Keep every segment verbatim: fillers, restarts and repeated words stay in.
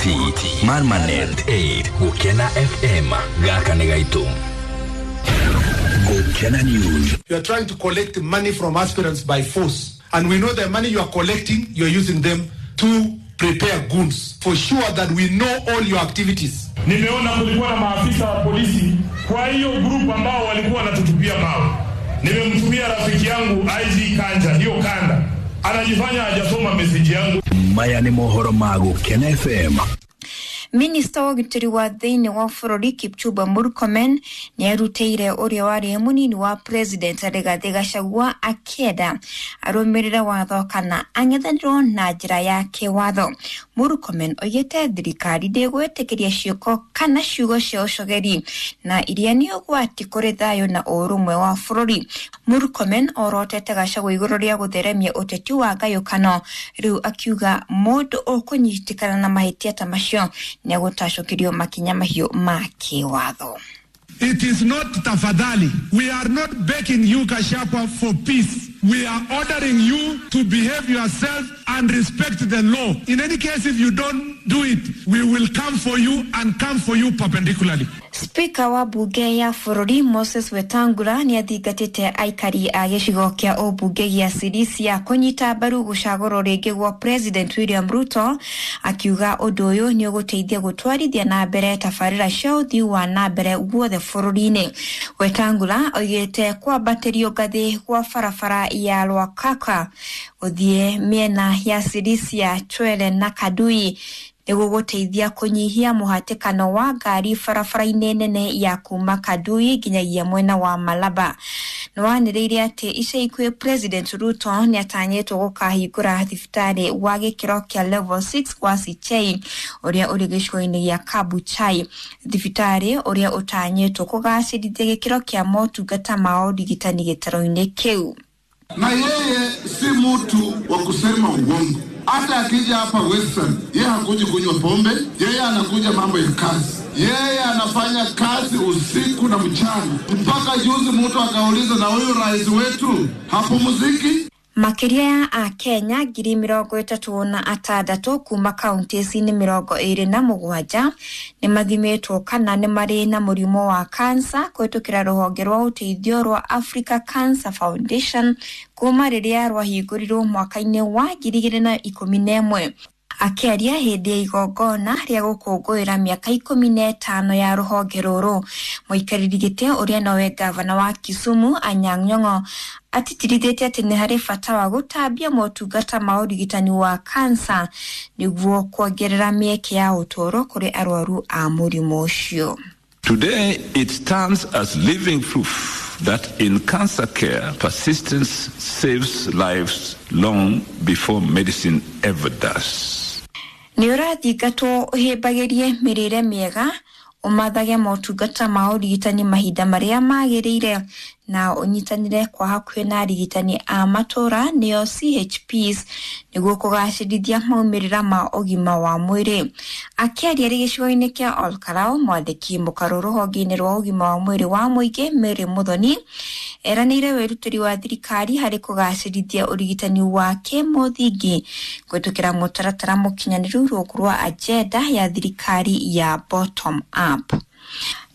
T Marmanet eight Gukena F M gaka nĩ gaitũ. Gukena News. You are trying to collect money from aspirants by force, and we know the money you are collecting, you are using them to prepare goons. For sure that we know all your activities. Nimeona kulikuwa na maafisa wa polisi kwa hiyo group ambao walikuwa wanatutupia mawe. Nimemtumia rafiki yangu I G Kanja, hiyo kanda. Anajifanya hajasoma message yangu. Maya ni mohoro ma Gukena F M. Minista wa ũgitĩri wa thĩinĩ wa bũrũri Kipchumba Murkomen nĩarutĩire ũrĩa warĩ mũnini wa president Rigathi Gachagua akĩenda arũmĩrĩre watho kana ang'ethanĩrwo na njĩra ya kĩwatho. Murkomen oigĩte thirikari ndĩgwĩtĩkĩria ciĩko kana ciugo cia ũcogeri na iria nĩ ũgwati kũrĩ thayũ na ũrũmwe wa bũrũri. Murkomen orotete Gachagua igũrũ rĩa gũtheremia ũteti wa ngayũkano, rĩu akiuga mũndũ ũkũnyitĩkana na mahĩtia ta macio nĩegũtacũkĩrio makinya mahiũ ma kĩwatho. It is not tafadhali. We are not begging you, Gachagua, for peace. We are ordering you to behave yourself and respect the law. In any case, if you don't do it, we will come for you and come for you perpendicularly. Speaker wa bunge ya bũrũri Moses Wetangula nĩathingatĩte aikari a gĩcigo kĩa ũmbunge gĩa Sirisia kũnyita mbaru gũcagũrwo rĩngĩ gwa President William Ruto, akiuga ũndũ ũyũ nĩ ũgũteithia gũtwarithia na mbere tabarĩra cia ũthii wa na mbere guothe bũrũri-inĩ. Wetangula oigĩte kwambatĩrio ngathĩ gwa barabara ya Lwakaka gũthiĩ mĩena ya Sirisia, Chwele na Kadui nĩgũgũteithia kũnyihia mũhatĩkano wa ngari barabara-inĩ nene ya kuma Kadui nginyagia mwena wa Malaba. Nĩwanĩrĩire atĩ ica ikuhĩ President Ruto nĩatanyĩtwo gũkahingũra thibitarĩ wa gĩkĩro kĩa level six wa Sichei ũrĩa ũrĩ gĩcigo-inĩ gĩa Kabuchai, thibitarĩ ũrĩa ũtanyĩtwo kũgacĩrithia gĩkĩro kĩa motungata ma ũrigitani gĩtarũ-inĩ kĩu. Na yeye si mtu wa kusema uongo. Hata akija hapa Western, yeye hakuji kunywa pombe, yeye anakuja mambo ya kazi. Yeye anafanya kazi usiku na mchana. Mpaka juzi mtu akauliza, na huyu rais wetu hapumziki? Makĩria ya Akenya ngiri mĩrongo ĩtatũ na atandatũ kuma kaunti-inĩ mĩrongo ĩrĩ na mũgwanja nĩmathimĩtwo kana nĩ marĩ na mũrimũ wa kansa kũhĩtũkĩra rũhonge rwa ũteithio rwa Africa Cancer Foundation kuma rĩrĩa rwahingũrirwo mwaka-inĩ wa ngiri igĩrĩ na ikũmi na ĩmwe. Akĩaria hĩndĩ ya igongona rĩa gũkũngũĩra mĩaka ikũmi na ĩtano ya rũhonge rũrũ, mũikarĩri gĩtĩ ũrĩa nowe ngavana wa Kisumu Anyang' Nyong'o atĩtĩrithĩtie atĩ nĩ harĩ bata wa gũtambia motungata ma ũrigitani wa kansa nĩguo kuongerera mĩeke ya ũtũũro kũrĩ arwaru a mũrimũ ũcio. Today it stands as living proof that in cancer care, persistence saves lives long before medicine ever does. Nĩ ũrathingatwo ũhĩmbagĩrie mĩrĩre mĩega, ũmathage motungata ma ũrigitani mahinda marĩa magĩrĩire na ũnyitanĩre kwa hakuhĩ na arigitani a matũra nĩo C H Ps nĩguo kũgacĩrithia maumĩrĩra ma ũgima wa mwĩrĩ. Akĩaria arĩ gĩcigo-inĩ kĩa Olkarau, mwandĩki mũkarũ rũhonge-inĩ rwa ũgima wa mwĩrĩ wa mũingĩ Mary Muthoni eranĩire wĩrutĩri wa thirikari harĩ kũgacĩrithia ũrigitani wa kĩmũthingi kũhĩtũkĩra mũtaratara mũkinyanĩru rungu rwa agenda ya thirikari ya bottom up.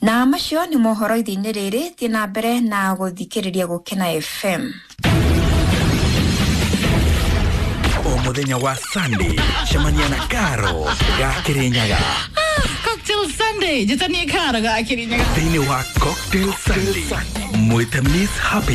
Na macio nĩ mohoro ithe-inĩ rĩrĩ, thiĩ na mbere na gũthikĩrĩria Gũkena F M. O mũthenya wa Sunday, cemania na Karo ga Kĩrĩnyaga. Cocktail Sunday, njĩtanie Karo ga Kĩrĩnyaga. Thĩinĩ wa Cocktail Sunday, mwĩte Miss Happiness.